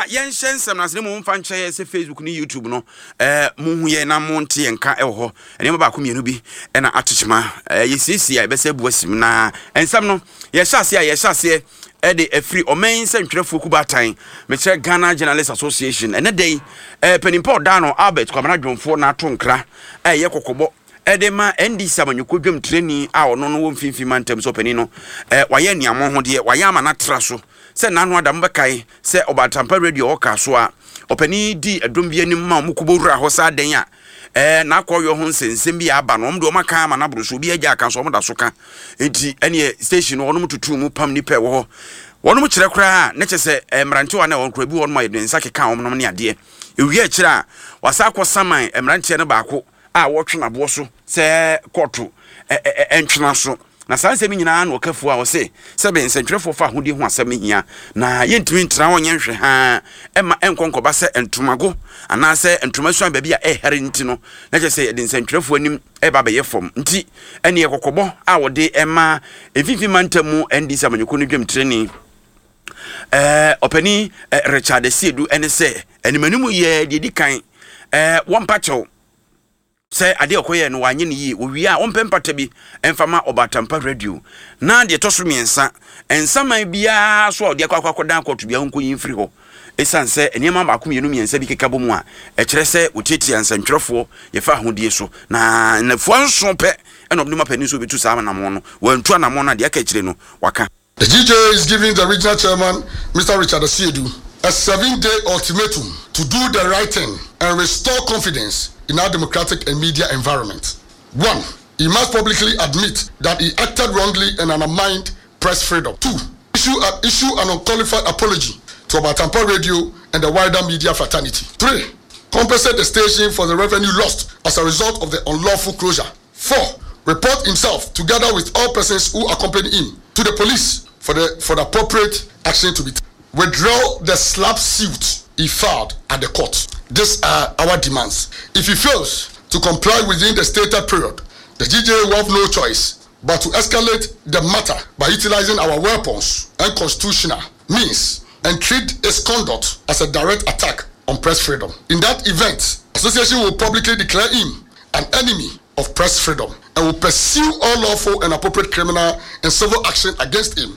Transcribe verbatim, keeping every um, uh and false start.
Yɛnhyɛ nsɛm no ase ne mo mfa nkyɛ yɛ sɛ Facebook ne YouTube no, ɛɛ mohu yɛn na monte yɛn nka ɛwɔ hɔ. Nneɛma baako mmienu bi ɛna atokyema ɛɛ yɛsiesie a yɛbɛsɛ abu asim. Na nsɛm no yɛhyɛ aseɛ a, yɛhyɛ aseɛ ɛde afiri ɔman nsɛntwerɛfoɔ kubaatan, mekyerɛ Ghana Journalist Association. Ɛnɛ da yi, ɛɛ panimpa ɔda no Albert Kwamina Dwomfoɔ na ato nkra a ɛyɛ kɔkɔbɔ ɛde ma N D C amanyɔkuo dwamtirani a ɔno no wɔ Mfimfini Mantam sɛ ɔpanin no, ɛɛ wayɛ nneɛma ho deɛ wayɛ ama no atra so sɛ n'ano adam bɛkae sɛ Ɔbaatampa Radio ɔka so a ɔpanin di ɛdɔm bi anim ma ɔmo kɔbɔ wura hɔ saa dan a ɛɛ n'akɔyɔ ho nsɛnsɛm bi aba no, ɔmo de ɔmo aka ama n'aboro so, obi agya aka so, ɔmo da so ka. Nti ɛneɛ station no ɔnom tutu mu pam nipa ɛwɔ hɔ, wɔnom kyerɛ koraa ne kyɛ sɛ ɛɛ mmerantewa na wɔn kora bi wɔnom a yɛde nsa keka wɔn nom ne adeɛ. Ewie akyire a wasa akɔ saman mmeranteɛ no baako a wɔtwe n'aboɔ so sɛ kɔɔto ɛ ɛ ɛntwena so. Na saa nsɛm nyinaa na ɔkafoɔ a ɔse sɛbe nsɛntwerɛfoɔ fa ahodie ho asɛm hia na yɛntumi ntena hɔ nyɛ nhwɛ haa ɛma ɛnkɔ nkɔba sɛ ntomago anaasɛ ntoma suan baabi a ɛhɛre. Nti no na kyerɛ sɛ yɛde nsɛntwerɛfoɔ anim ɛba bɛyɛ fam. Nti ɛne kɔkɔbɔ a wɔde ɛma Mfimfini Mantam mu N D C amanyɔkuo no dwamtirani, ɛɛ ɔpanin ɛɛ Richard Asiedu, ɛne sɛ animanim yɛ deɛ di kan ɛɛ wɔmpa kyɛw sɛ adeɛ ɔkɔyɛ no wanyɛ no yie. Wɔwie a, wɔmpɛ mpata bi ɛmfa ma Ɔbaatampa Radio. Na deɛ ɛtɔ so mmiɛnsa, nsaman biara so a ɔde akɔ akɔ akɔdan akɔto biara nkɔyi mfiri hɔ, ɛsiane sɛ nneɛma baako mmienu mmiɛnsa bi keka bɔ mu a ɛkyerɛ sɛ wɔtiatia nsɛntwerɛfoɔ yɛfa ahodie so. Na nnafua nson pɛ ɛna ɔde ma panin so wɔbɛtu saa anammɔn no. Wɔantu anammɔn no a, deɛ aka akyire no waka. The G J A is giving the regional chairman, Mister Richard Asiedu, a seven day ultimatum to do the right thing and restore confidence in our democratic and media environment. One, he must publicly admit that he acted wrongly and undermined press freedom. Two, issue, a, issue an unqualified apology to Obatampa Radio and the wider media fraternity. Three, compensate the station for the revenue lost as a result of the unlawful closure. Four, report himself together with all persons who accompany him to the police for the for the appropriate action to be taken. Withdraw the SLAPP suit he filed at the court. These are our demands. If he fails to comply within the stated period, the G J A will have no choice but to escalate the matter by utilizing our weapons and constitutional means and treat its conduct as a direct attack on press freedom. In that event, association will publicly declare him an enemy of press freedom and will pursue all lawful and appropriate criminal and civil action against him.